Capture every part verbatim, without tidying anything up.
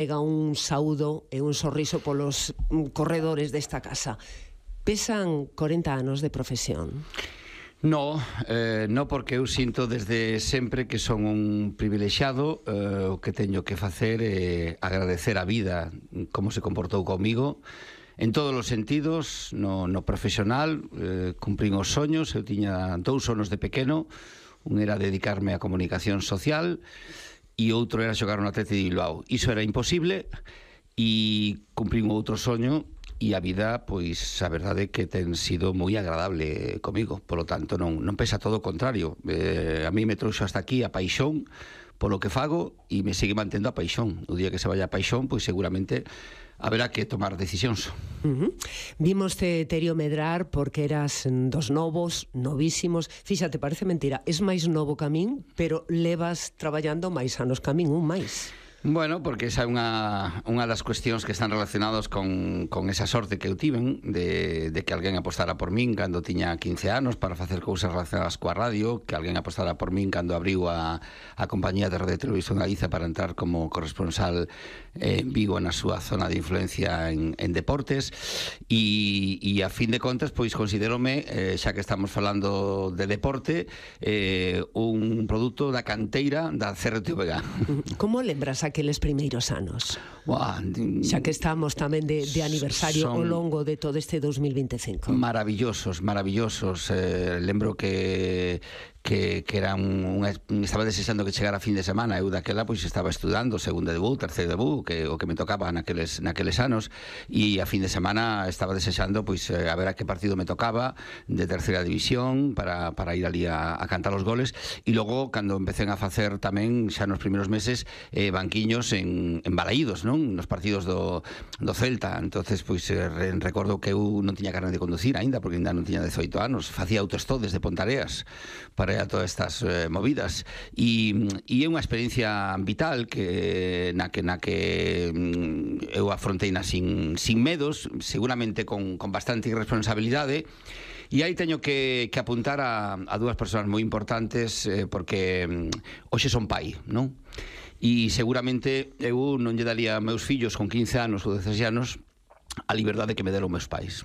Pega un saúdo e un sorriso polos corredores desta casa. Pesan corenta anos de profesión? No, eh, no, porque eu sinto desde sempre que son un privilexiado. eh, o que teño que facer é agradecer a vida como se comportou comigo en todos os sentidos. No, no profesional eh, cumprín os soños. Eu tiña dous sonos de pequeno. Un era dedicarme á comunicación social e outro era xogar no Athletic de Bilbao. Iso era imposible e cumprín outro soño, e a vida, pois, a verdade é que ten sido moi agradable comigo. Polo tanto, non, non pesa, todo o contrario. Eh, a mí me trouxo hasta aquí a paixón polo que fago e me sigue mantendo a paixón. O día que se vaya a paixón, pois seguramente haberá que tomar decisións. Uh-huh. Vimoste, Terio, medrar porque eras dos novos, novísimos. Fíxate, parece mentira, es máis novo que a min, pero levas traballando máis anos que a min, un máis. Bueno, porque esa é unha, unha das cuestións que están relacionados con, con esa sorte que eu tiven de, de que alguén apostara por min cando tiña quince anos para facer cousas relacionadas coa radio, que alguén apostara por min cando abriu a, a compañía de Radio Televisión Galiza para entrar como corresponsal en Vigo, na súa zona de influencia en, en deportes, e, e a fin de contas, pois considerome, eh, xa que estamos falando de deporte, eh, un produto da canteira da C R T V G. Como lembras aqueles primeiros anos? Buah, xa que estamos tamén de, de aniversario ao longo de todo este dos mil vinte e cinco. Maravillosos, maravillosos. Eh, lembro que que, que era un, un, estaba desexando que chegara a fin de semana. Eu daquela pois estaba estudando segundo debut, terceiro debut, que o que me tocaba naqueles, naqueles anos, e a fin de semana estaba desexando pois a ver a que partido me tocaba de terceira división para, para ir ali a, a cantar os goles. E logo, cando empecé a facer tamén xa nos primeiros meses eh, banquiños en, en Balaídos, non? Nos partidos do, do Celta. Entonces, pois eh, recordo que eu non tiña carne de conducir aínda, porque ainda non tiña dezoito anos. Facía autostop desde Pontareas para a todas estas eh, movidas, e, e é unha experiencia vital que na que, na que mm, eu afrontei na sin, sin medos, seguramente con, con bastante irresponsabilidade. E aí teño que, que apuntar a, a dúas persoas moi importantes, eh, porque mm, hoxe son pai, non? E seguramente eu non lle daría a meus fillos con quince anos ou dezasete anos a liberdade que me deron meus pais.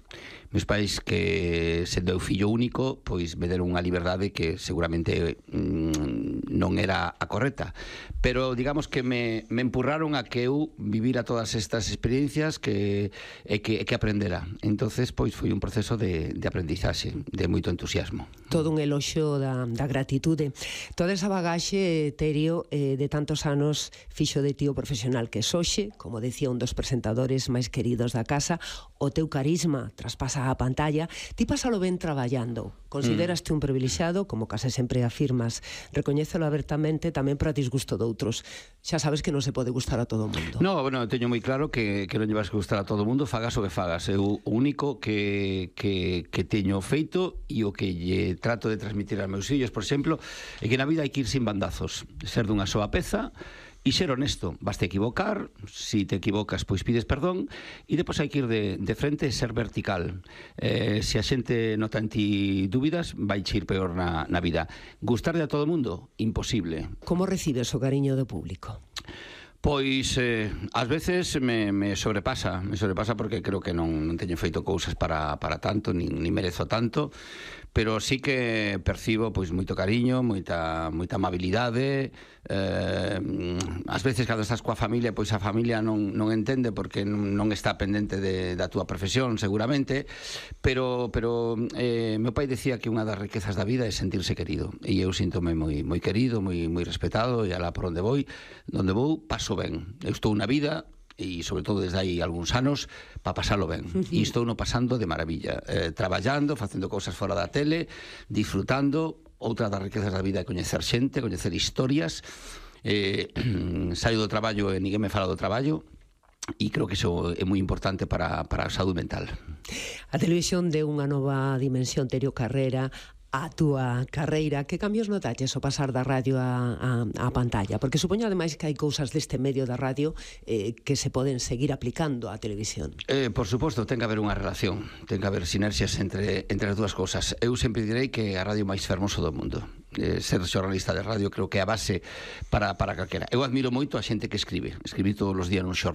Meus pais, que sendo eu fillo único, pois me deron unha liberdade que seguramente mmm, non era a correcta, pero digamos que me, me empurraron a que eu vivira todas estas experiencias que, e que, que aprendera. Entonces, pois foi un proceso de, de aprendizaxe, de moito entusiasmo. Todo un eloxo da, da gratitude. Toda esa bagaxe, Terio, eh, de tantos anos fixo de tío profesional que soxe, como decía un dos presentadores máis queridos da casa, o teu carisma traspasa a pantalla. Ti pasalo ben traballando. Consideraste mm. un privilexiado, como case sempre afirmas. Recoñécelo abertamente tamén para disgusto de outros. Xa sabes que non se pode gustar a todo o mundo. No, bueno, teño moi claro que, que non llevas que gustar a todo o mundo, fagas o que fagas. Eu o único que, que, que teño feito e o que lle trato de transmitir aos meus fillos, por exemplo, é que na vida hai que ir sin bandazos, ser dunha soa peza e ser honesto. Basta equivocar, si te equivocas, pois pides perdón, e depois hai que ir de, de frente e ser vertical. Eh, se a xente nota en ti dúbidas, vai ir peor na, na vida. Gustarle a todo o mundo? Imposible. Como recibes o cariño do público? Pois, eh, ás veces me, me sobrepasa, me sobrepasa porque creo que non, non teño feito cousas para, para tanto, nin, nin merezo tanto, pero sí que percibo pois moito cariño, moita, moita amabilidade. Eh, ás veces cando estás coa familia, pois a familia non, non entende porque non, non está pendente de, da túa profesión, seguramente, pero, pero eh, meu pai decía que unha das riquezas da vida é sentirse querido, e eu síntome moi, moi querido, moi, moi respetado, e alá por onde vou, onde vou, paso ben. Eu estou na vida, e sobre todo desde aí algúns anos, para pasalo ben. E estou no pasando de maravilla, eh, traballando, facendo cousas fora da tele, disfrutando. Outra das riquezas da vida é coñecer xente, coñecer historias. Eh, saio do traballo e ninguén me fala do traballo, e creo que iso é moi importante para, para a saúde mental. A televisión deu unha nova dimensión, Terio Carrera, a túa carreira, que cambios notaches ao pasar da radio á, á, á pantalla? Porque supoño ademais que hai cousas deste medio da radio eh, que se poden seguir aplicando á televisión. Eh, por suposto, ten que haber unha relación, ten que haber sinerxias entre, entre as dúas cousas. Eu sempre direi que a radio máis fermoso do mundo. Eh, ser xornalista de radio creo que é a base para, para calquera. Eu admiro moito a xente que escribe. Escribí todos os días nun xornal